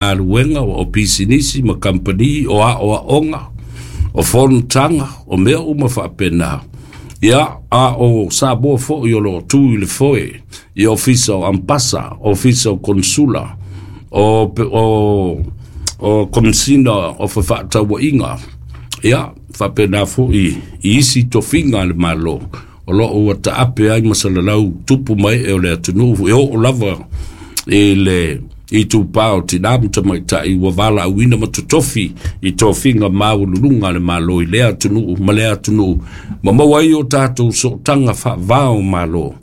Galuega o pisinisi ma kamupani o aoaoga o fonotaga o mea uma faapena. Ia, a o Samoa foi o loo tu i le foe i ofisa o ambasa, ofisa o konsula, o komisina o fefaatauaiga, ia faapena foi i isi tofiga a le Malo o loo ua taape ai ma salalau tupu mai e o le atunuu e oo lava i le itupa o tinā ma tamaitai ua valaauina ma totofi i tofiga maualuluga a le Malo i lea atunuu ma lea atunuu ma maua ai o tatou sootaga faavao o Malo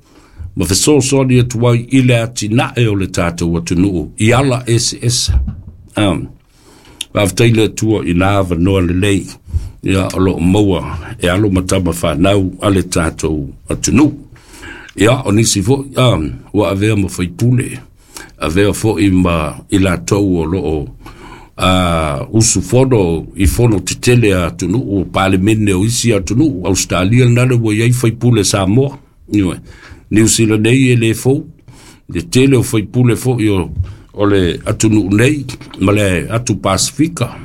ma fesoasoani atu ai i le atinae o le tatou atunuu i ala eseese. Faafetai le Atua i na avanoa lelei ia o loo maua e alo ma tama fanau a le tatou atunuu. Ia, o nisi foi ua avea ma faipule, avea foi ma i latou o loo usufono i fono tetele a atunuu o palemene o isi atunuu. Australia lena le ua i ai faipule Samoa. Ioe. Niu Sila nei e le fou le tele o faipule foi o le atunuu nei ma le atu Pasifika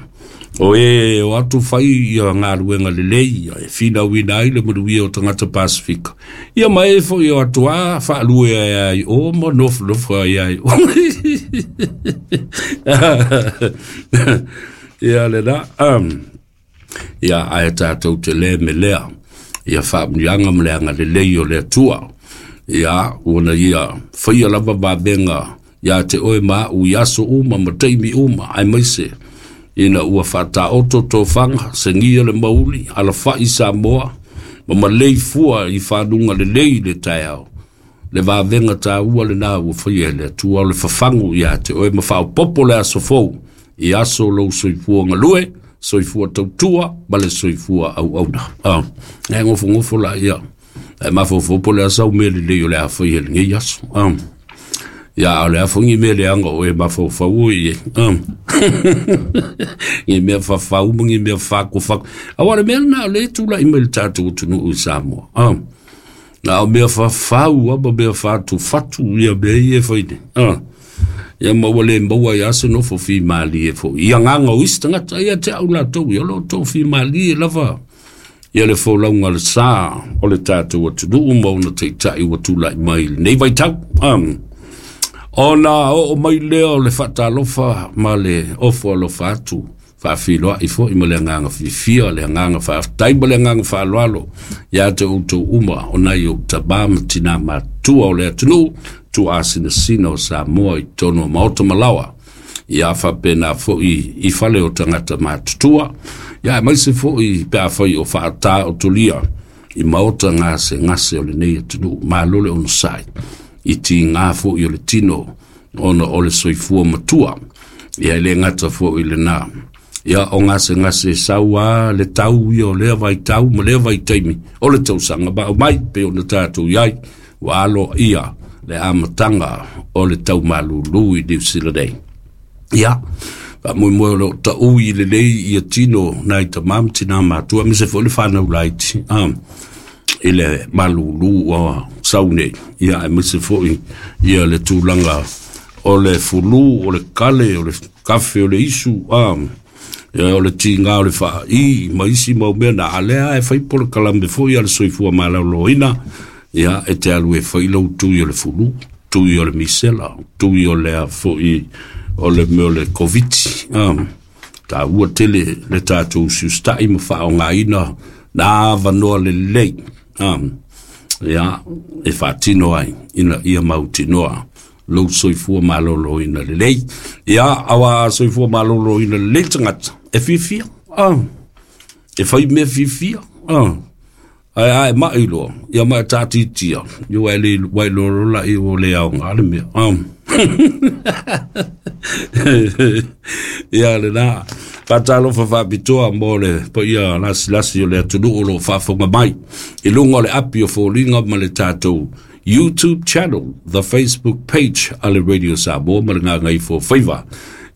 o e o atu fai ia galuega lelei e finauina ai le manuia o tagata Pasifika. Ia ma e foi o atu a faalue ai ai o ma nofonofo ai ai o. Ia lena. Ia ae tatou te le me lea ia faamuliaga ma le agalelei o le Atua. Ia ua ia faia lava vavega ia te oe ma au i aso uma ma taimi uma aemaise ina ua faataoto tofaga segia le mauli alafai Samoa ma malei fua i fanuga lelei le taeao. Le vavega taua lena ua faia e le Atua o le fafagu ia te oe ma faaopopo le aso fou i aso lou soifua galue, soifua tautua ma le soifua auauna. E gofogofo la ia e mafaufau po o le a sau mea lelei o le a faia i lenei aso. Ia, a o le a foi ni mea leaga o e mafaufau o i ai. Ni mea fafau ma ni mea fakofako. Aua o le mea lena o lea e tulai mai i le tatou atunuu i Samoa. Na o mea fafau lava ma mea fatufatu ia mea ia e fai nei. Ia ma ua le maua ai lava se nofo fimalie foi i agaga o isi tagata. Ia te au latou, ia o lo o tou fimalie lava ia le folauga o le sa o le tatou atunuu ma ona taitai ua tulai mai i lenei vaitau. Ona oo mai lea o le faatalofa ma le ofo alofa atu, faafiloai foi ma le agaga fiafia, le agaga faafetai ma le agaga faaaloalo ia te outou uma o nai ou tamā ma tinā matutua o le atunuu tuaasinasina o Samoa i totonu o maota ma laoa. Ia faapena foi i fale o tagata matutua, ia aemaise foi pe afai o faataotolia i maota gasegase o lenei atunuu. Malo le onosai i tiga foi o le tino ona o le soifua matua. Ia e le gata foi i lena. Ia o gasegase sau a le tau ia o lea vaitau ma lea vaitaimi o le tausaga ma aumai pei ona tatou i ai ua aloaia le amataga o le tau malulu i Niu Sila nei. Ia, faamoemoe o loo taui lelei ia tino nai tamā ma tinā matua aemaise foi le fanau laiti i le malulu ua sau nei. Ia aemaise foi ia le tulaga o le fulu, o le kale, o le kafe, o le isu, ia, o le tiga o le faai ma isi mau mea na a lea e fai polokalame foi a le soifua maloloina. Ia e te alu e fai lau tui o le fulu, tui o le misela, tui o le foi o le mea o le Covid. Taua tele le tatou usiusitai ma faaaogaina na avanoa lelei ia e faatino ai ina ia mautinoa lou soifua maloloina lelei. Ia, aua soifua maloloina lelei tagata e fiafia, e fai mea fiafia, ae ae mai loa ia ma e taatitia ia ua e le ua e loa la i ua le aoga le mea. Ia lena faatalofa faapitoa mo le paia lasilasi o le atunuu o loo faafofoga mai i luga o le api o foliga ma le tatou YouTube channel, the Facebook page a le Radio Samoa ma le Gagaifo Faiva.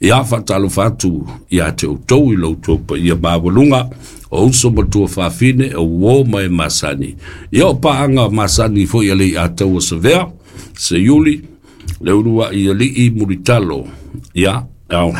Ia faatalofa atu ia te outou i lo outou paia maualuga o uso ma tuafafine o uō ma e masani. Ia o paaga masani foi a le Ataua Savea, Seiuli, le uluai alii Mulitalo. Ia, Al.